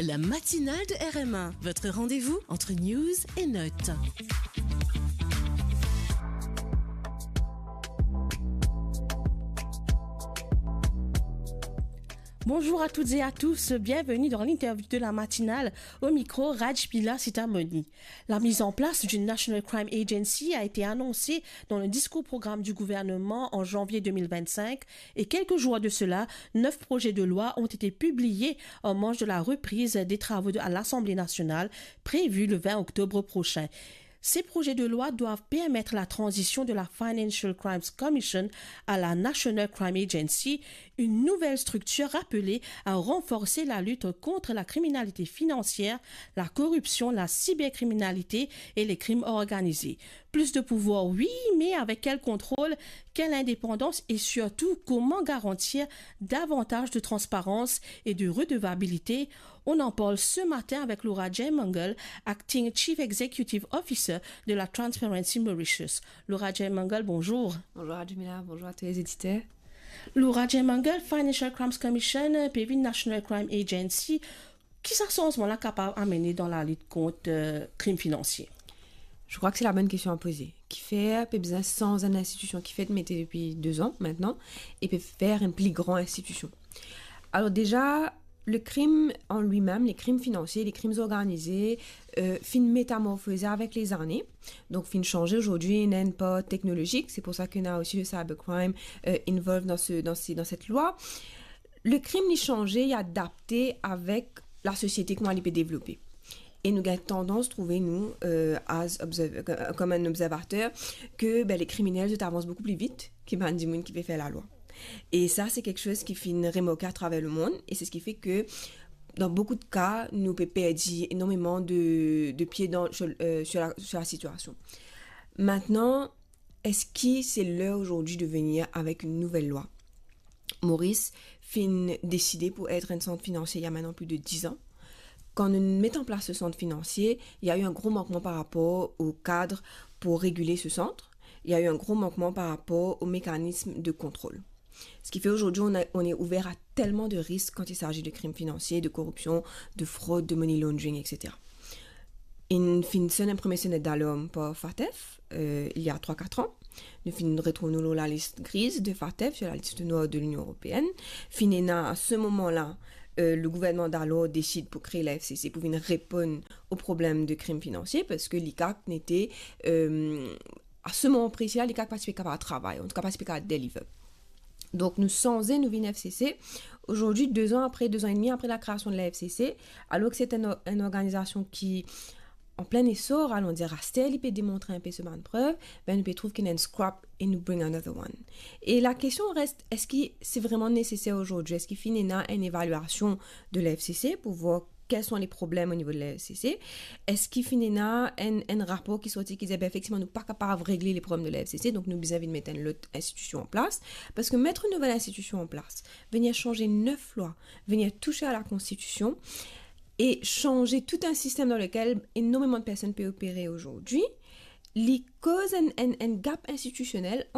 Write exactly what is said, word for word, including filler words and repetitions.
La matinale de R M A, votre rendez-vous entre news et notes. Bonjour à toutes et à tous, bienvenue dans l'interview de la matinale, au micro Rajmila Sitamoni. La mise en place d'une National Crime Agency a été annoncée dans le discours programme du gouvernement en janvier deux mille vingt-cinq et quelques jours de cela, neuf projets de loi ont été publiés en marge de la reprise des travaux de, à l'Assemblée nationale prévue le vingt octobre prochain. Ces projets de loi doivent permettre la transition de la Financial Crimes Commission à la National Crime Agency, une nouvelle structure appelée à renforcer la lutte contre la criminalité financière, la corruption, la cybercriminalité et les crimes organisés. Plus de pouvoir, oui, mais avec quel contrôle, quelle indépendance et surtout comment garantir davantage de transparence et de redevabilité ? On en parle ce matin avec Laura Jaymangal, Acting Chief Executive Officer de la Transparency Mauritius. Laura Jaymangal, bonjour. Bonjour Rajmila, bonjour à tous les éditeurs. Laura Jaymangal, Financial Crimes Commission, pe vinn National Crime Agency. Ki sa sanzman la kapav amene dan lalit kont, euh, krim finansie? Je crois que c'est la bonne question à poser. Kifer pe bizin sanz enn institusion ki finn mete depi deux ans maintenant e pe fer enn pli gran institusion? Alors déjà, le crime en lui-même, les crimes financiers, les crimes organisés, euh, finn métamorphosé avec les années. Donc, finn changé. Aujourd'hui, il y a une part technologique. C'est pour ça qu'on a aussi le cybercrime, euh, involved dans ce, dans ces, dans cette loi. Le krim, li chanje, li adapte avek lasosiete, kouma li pe devlope. E nou gagn tandans trouve nou, euh, as observ-, kom enn observater, ke, ben, le kriminel, zot avans boukou pli vit ki bann dimoun ki pe fer lalwa. E sa, se kiksoz ki finn remarke atraver lemond, e se seki fer ke, dan boukou de ka, nou pe perdi enormeman de, de pie dan, sur, euh, sur la, sur la sitiasion. Maintenant, est-ce que c'est l'heure aujourd'hui de venir avec une nouvelle loi? Maurice finn deside pou et enn sant finansie il y a maintenant plus de dix ans. Kan nou met an plas le sant finansie, il y a eu un gros manquement par rapport au cadre pour réguler ce centre. Il y a eu un gros manquement par rapport au mécanisme de contrôle. Ce qui fait aujourd'hui, on a, on est ouvert à tellement de risques quand il s'agit de crimes financiers, de corruption, de fraude, de money laundering, et cetera. Inn finn sonn enn premie sonet dalarm par FATF, euh, il y a trois, quatre ans. Nou finn retrouv nou lor lalis griz de FATF, sur la liste noire de l'Union européenne. Finn ena, à ce moment-là, euh, le gouvernement d'alors décide pou kree la F C C pou vinn reponn au problème de crime financier, parski li kak nete, euh, à ce moment précis-là, li kak pa ti pe kapav travay, an tou ka pa ti pe kapav deliver. Donk, nou sanze, nou vinn F C C. Aujourd'hui, deux ans après, deux ans et demi après la création de la F C C, alors que c'est un or-, une organisation qui, en plein essor, allons dire, aster, li pe demontre enpe so bann prev, ben, nou pe trouv ki ena enn scrap e nou bring another one. E la kestion reste, eski se vreman neseser aujourd'hui? Eski finn ena enn evaliasion de la F C C pou voir quels sont les problèmes au niveau de la F C C? Eski finn ena enn, enn rapor ki sorti ki dir, ben, efektivman, nou pa kapav regle le problem de la F C C, donk nou bizin vinn met enn lot institusion an plas? Parski met enn nouvel institusion an plas, venir chanje nef lwa, venir touche a la Konstitision e chanje tout enn sistem dan lekel enormeman de personn pe opere aujourd'hui, li koz enn, enn, enn gap institusionel ant